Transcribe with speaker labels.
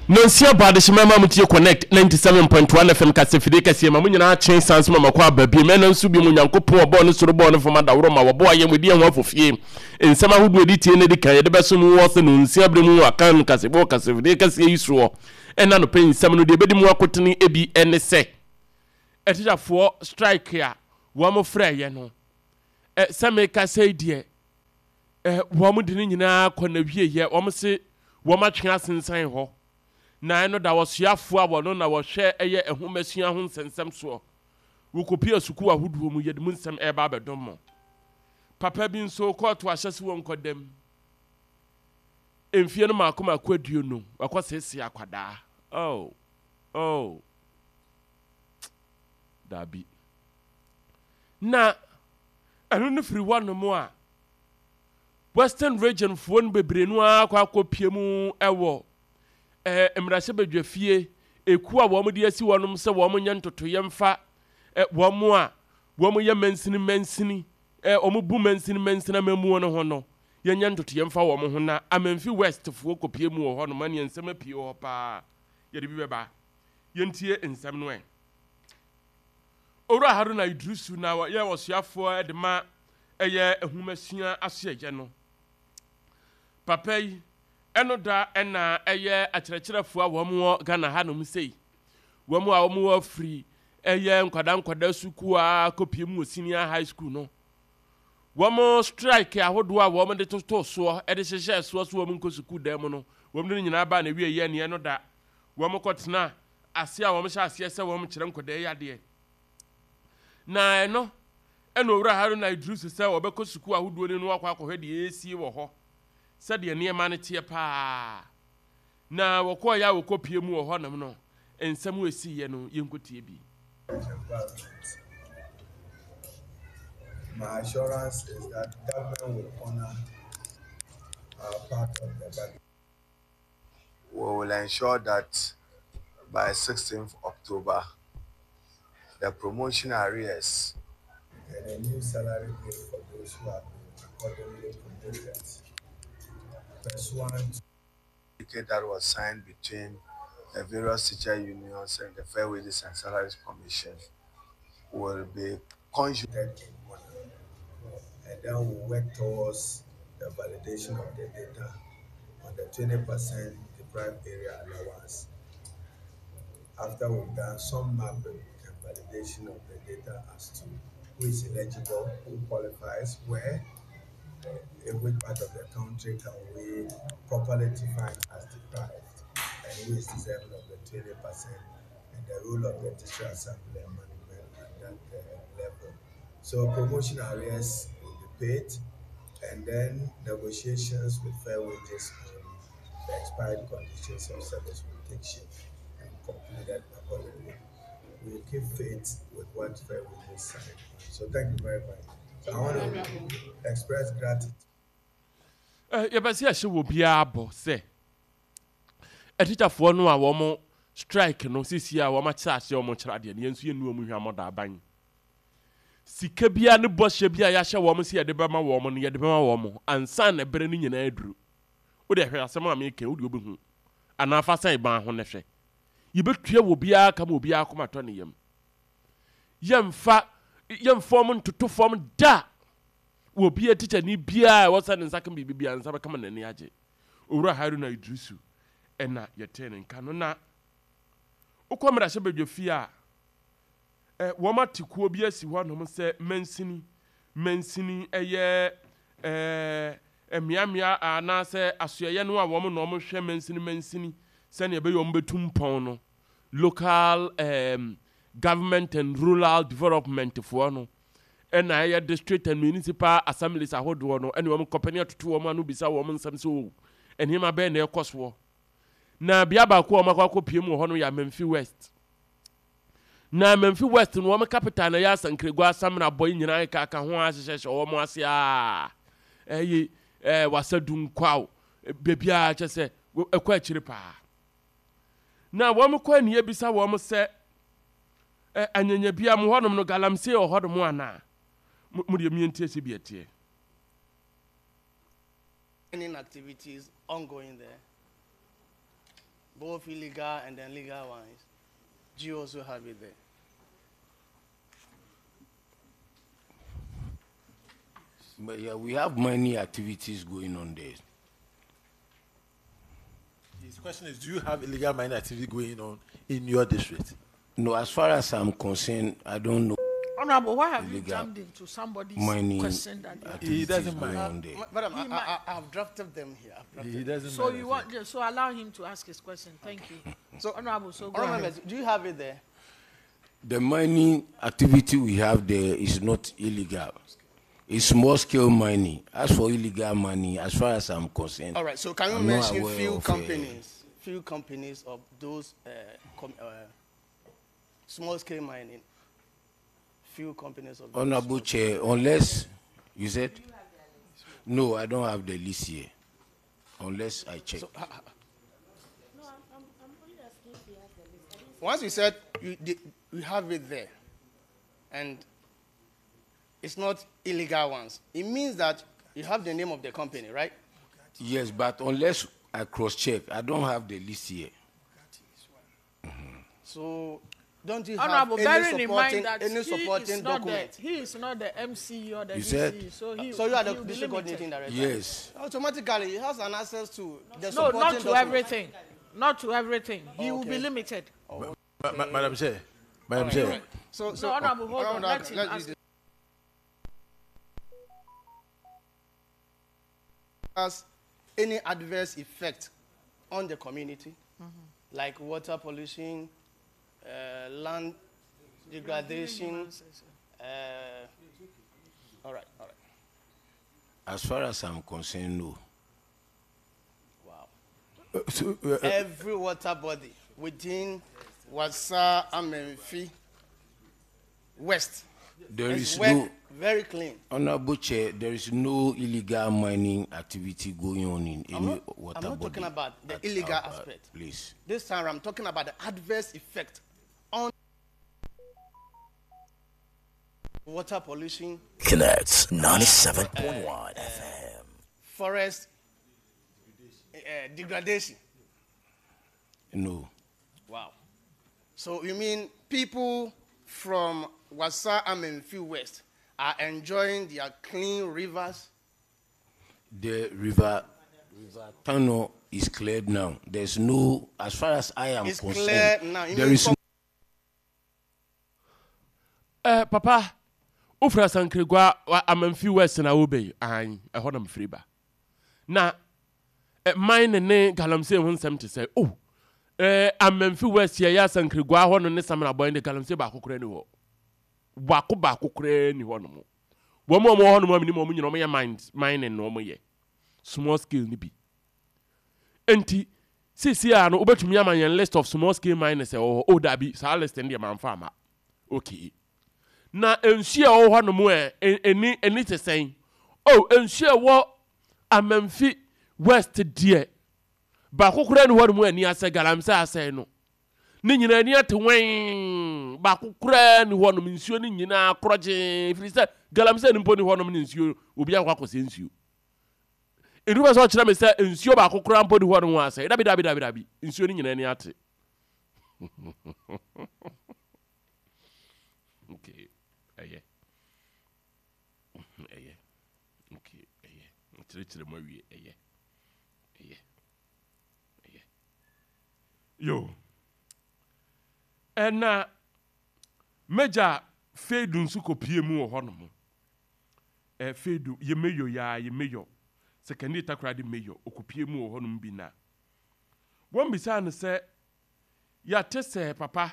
Speaker 1: Nonsia bɔ adehyema ma mo tie Connect 97.1 FM kasafidie kɛseɛ ma mo nyinaa kye san so ma makɔ aba bio mɛnam so bio mo Nyankopɔn ɔbɔɔ ne soro bɔɔ ne fam adaworo ma wɔboa yɛn wɔdi yɛn ho afofie nsɛm ahodoɔ ɛdi tie na ɛdi kan yɛde bɛso mu wɔ sɛ nonsia berɛ mu akan kasebɔ kasafidie kɛseɛ yi soɔ ɛna nɔpɛ nsɛm no deɛ ɛbɛdi mu akotene ebi ɛne sɛ atikyafoɔ strike a wɔn frɛeɛ no sɛ meka sɛ deɛ Wɔn de ne nyinaa kɔ n'awieɛ, wɔn se wɔn atwe asensan hɔ, na ɛno da ɔsoafoɔ a wɔno na wɔhwɛ ɛyɛ nhomasua ho nsɛnsɛm soɔ. Wɔkɔpue sukuu ahodoɔ mu, yɛde mu nsɛm ɛreba abɛdom mo. Papa bi nso, kɔɔto ahyɛ se wɔnkɔ dam. Mfie no maako maako 20, wakɔ seesee akwadaa. Oh, oh, daabi. Na ɛno no firi hɔnom a, Western Region foɔ no bebree no ara akɔ akɔpie mu wɔ eh, mmarahyɛbadwafie ekuo a wɔn de asi hɔnom sɛ wɔn nyɛ ntotoeɛ mfa eh, wɔn a wɔn yɛ mansini mansini eh, wɔn bu mansini mansini amammuo no ho no, yɛnyɛ ntotoeɛ mfa wɔn ho na Amenfi West foɔ kɔpie mu wɔ hɔnom ɛneɛ nsɛm apue wɔ hɔ paa yɛde bi bɛba yɛntie nsɛm no ɛ. Owura Haruna Iddrisu na ɔyɛ ɔsoafoɔ de ma ɛyɛ nhomasua asoɛyɛ no. Papa yi, ɛno da na ɛyɛ akyerɛkyerɛfoɔ a wɔn wɔ Ghana ha nom sei. Wɔn a wɔn wɔ firi ɛyɛ nkwadaa nkwadaa sukuu a kɔpie mu wɔ senior high school no. Wɔn strike ahodoɔ a wɔn de totoo soɔ de hyehyɛɛ soɔ so wɔn nkɔ sukuu dan mu no, wɔn de ne nyinaa baa na wieɛ neɛ no da wɔn kɔtena ase a wɔhyɛ aseɛ sɛ wɔkyerɛ nkwadaa yi adeɛ. Na ɛno ɛna Owura Haruna Iddrisu sɛ ɔbɛkɔ sukuu ahodoɔ no mu akɔ akɔhwɛ deɛ ɛresie wɔ hɔ, sɛdeɛ nneɛma no teɛ paa. Na wɔkɔeɛ a wɔkɔpie mu wɔ hɔnom no, nsɛm a ɛsiiɛ no, yɛnkɔtie bi.
Speaker 2: Environment. My assurance is that government will honor our part of the bargain. We will ensure that by 16th October, the promotion arrears and a new salary grade for those who have been accordingly promoted pursuant to that was signed between the various teacher unions and the Fair Wages and Salaries Commission will be consummated in honor, and then we'll work towards the validation of the data on the 20% deprived area allowance. After we've done some mapping and validation of the data as to who is eligible, who qualifies, where, in which part of the country can we properly define as deprived, and who is deserving of the 20%, and the role of the district assembly and management at that level. So promotion arrears will be paid, and then negotiations with fair wages on the expired conditions of service will take shape and concluded accordingly. We will keep faith with what fair wages signed. So thank you very much. So I want to express gratitude.
Speaker 1: Yɛpɛ sɛ yɛhyɛ wɔ biara bɔ sɛ atikyafoɔ no a wɔn strike no sisi a wɔn akyerɛ aseɛ wɔn kyerɛ adeɛ no yɛn nso yɛnnu wɔn hwammɔ da aban sika biara ne bɔhyɛ bi a yɛahyɛ wɔn sɛ yɛde bɛma wɔn no yɛde bɛma wɔn ansa na ɛberɛ no nyinaa aduru. Wo deɛ hwɛ asɛm a meka yi, wo deɛ wobɛhu. Anaa fa sɛn ban ho na hwɛ. Yɛbɛtua wɔ obiara ka ma obiara akoma atɔ ne yam. Yɛmfa yɛmfa wɔn ntoto fam da. Wɔ obiara tikyani biara a ɛwɔ sɛ ne nsa ka biribi biara, ne nsa bɛka ma n'ani agye. Owura Haruna Iddrisu ɛna yɛtee ne nka no. Na wokɔ mmarahyɛbadwafie a, ɛ, wɔate kuo bi asi hɔnom sɛ mansini, mansini ɛyɛ ɛ, mmeammea anaasɛ asoɛeɛ no a wɔn na wɔhwɛ mansini mansini sɛdeɛ ɛbɛyɛ wɔn bɛtu mpɔn no, local um, government and rural development foɔ no, ɛna ɛyɛ district and municipal assemblies ahodoɔ no, ɛne wɔn kɔpɛ ne atoto wɔn ano bisa wɔn nsɛm sɛ o, nneɛma bɛn na ɛkɔ soɔ. Na bea baako a wɔakɔ akɔpie mu wɔ hɔ no yɛ Amenfi West. Na Mamfi West no wɔn capital na ɛyɛ Asankragua Asamena bɔ yi nyinaa keka ho ara hyehyɛhyɛ wɔn ase aa ɛyi ɛɛ Wasadu Nkwaw baabiara kyɛ sɛ ɛkɔ akyire paa. Na wɔn kɔ ani ebisa wɔn sɛ ɛ anyanyabia mo hɔnom no galamsey wɔ hɔnom anaa? Mo mo deɛ mientie sɛ bi ɛteɛ.
Speaker 3: Mining activities ongoing there. Both illegal and then legal ones. Do you also have it there?
Speaker 4: But yeah, we have many activities going on there.
Speaker 5: His question is, do you have illegal mining activity going on in your district?
Speaker 4: No, as far as I'm concerned, I don't know.
Speaker 6: Honorable, why have you jumped into somebody's
Speaker 4: mining
Speaker 6: question that you
Speaker 4: activities
Speaker 5: He doesn't
Speaker 4: going
Speaker 5: mind.
Speaker 4: on there.
Speaker 3: Madam,
Speaker 6: He
Speaker 3: I have drafted them here. I've drafted
Speaker 5: He doesn't
Speaker 6: So
Speaker 5: mind,
Speaker 6: you
Speaker 5: I
Speaker 6: want, yeah, so allow him to ask his question. Thank you.
Speaker 3: So,
Speaker 6: Honorable, so go
Speaker 3: Honorable
Speaker 6: ahead.
Speaker 3: members, do you have it there?
Speaker 4: The mining activity we have there is not illegal. It's small scale mining. As for illegal mining, as far as I'm concerned,
Speaker 3: All right. So can you
Speaker 4: I'm not
Speaker 3: mention
Speaker 4: aware
Speaker 3: few
Speaker 4: of,
Speaker 3: companies, few companies of those small scale mining? Few companies of those.
Speaker 4: Honorable Chair, unless you said, no, I don't have the list here. Unless I check.
Speaker 3: So, once you said you have it there, and it's not illegal ones, it means that you have the name of the company, right?
Speaker 4: Yes, but unless I cross-check, I don't have the list here.
Speaker 3: So don't you
Speaker 6: Honorable,
Speaker 3: have any
Speaker 6: bearing in
Speaker 3: supporting,
Speaker 6: mind that
Speaker 3: any
Speaker 6: he
Speaker 3: supporting
Speaker 6: is not
Speaker 3: document?
Speaker 6: the, he is not the MC or the
Speaker 4: You
Speaker 6: DC,
Speaker 4: said?
Speaker 6: so he
Speaker 3: So you are
Speaker 6: he
Speaker 3: the
Speaker 6: will be
Speaker 3: district
Speaker 6: limited.
Speaker 3: coordinating director?
Speaker 4: Yes.
Speaker 3: Automatically, he has an access to the
Speaker 6: No,
Speaker 3: supporting
Speaker 6: not to
Speaker 3: document.
Speaker 6: everything. Not to everything. He will be
Speaker 3: Okay.
Speaker 6: limited.
Speaker 5: Madam Chair, Madam Chair.
Speaker 3: So, so,
Speaker 6: No, Honorable, hold on.
Speaker 3: Honorable,
Speaker 6: Let him
Speaker 3: let's
Speaker 6: ask.
Speaker 3: use Has any adverse effect on the community, like water pollution, land degradation? All right, all right.
Speaker 4: As far as I'm concerned, no.
Speaker 3: Wow.
Speaker 5: So,
Speaker 3: Every water body within Wassa Amenfi West
Speaker 4: There
Speaker 3: is
Speaker 4: is
Speaker 3: work
Speaker 4: no,
Speaker 3: very clean.
Speaker 4: Honorable Chair, there is no illegal mining activity going on in any water
Speaker 3: I'm not
Speaker 4: body
Speaker 3: talking about the
Speaker 4: at
Speaker 3: illegal
Speaker 4: our
Speaker 3: aspect.
Speaker 4: place.
Speaker 3: This time I'm talking about the adverse effect on water pollution,
Speaker 7: Connect 97.1 FM.
Speaker 3: forest degradation.
Speaker 4: No.
Speaker 3: Wow. So you mean people from Wassa Amenfi West are enjoying their clean rivers?
Speaker 4: The river Tano is cleared now. There's no, as far as I am
Speaker 3: It's
Speaker 4: concerned,
Speaker 3: clear now. You
Speaker 4: there
Speaker 3: mean
Speaker 4: is
Speaker 3: from
Speaker 1: Papa, wofiri Asankragua Amenfi West na wobɛyi? Ae, ɛhɔ na mefiri ba. Na mine ne galamsey ho nsɛm te sɛ, oh, Amenfi West yɛyɛ Asankragua hɔ no ne Samina Bɔn de galamsey baako koraa ni hɔ. Baako baako koraa ni hɔ nom. Wɔn a wɔwɔ hɔ nom a menim wɔn nyinaa wɔyɛ mining na wɔyɛ small scale ni bi. Enti seesei a no wobɛtumi ama yɛn list of small scale miners ɛwɔ hɔ. Oh, dabi, saa list no deɛ mamfa ama. Okay. Na nsuo a ɛwɔ hɔ nom ɛ, ɛni te sɛn? Oh, nsuo a ɛwɔ Amenfi West deɛ, baako koraa ni hɔ nom ani asɛ galamsey asɛe no. Ne nyinaa ani ate wɛn. Baako koraa ni hɔ nom, nsuo no nyinaa korɔgyee, ɛfiri sɛ galamsey no mpo ni hɔ nom ne nsuo, obi akɔ akɔsɛ nsuo. Ɛnu bɛ sɛ ɔkyerɛ me sɛ nsuo baako koraa mpo ni hɔ nom asɛe. Dabi, dabi, dabi, dabi. Nsuo no nyinaa ani ate. Okay, ɛyɛ. Ɛyɛ. Okay, ɛyɛ. Nkyerɛkyerɛ mu awie, ɛyɛ. Ɛyɛ. Ɛyɛ. Yo. Ɛna Major Feidu nso kɔpie mu wɔ hɔnom. Feidu, yɛ mayor yaa, yɛ mayor. Sekandi Takoradi mayor, ɔkɔpie mu wɔ hɔnom bi na. Wɔn bisaa no sɛ, yɛate sɛ papa,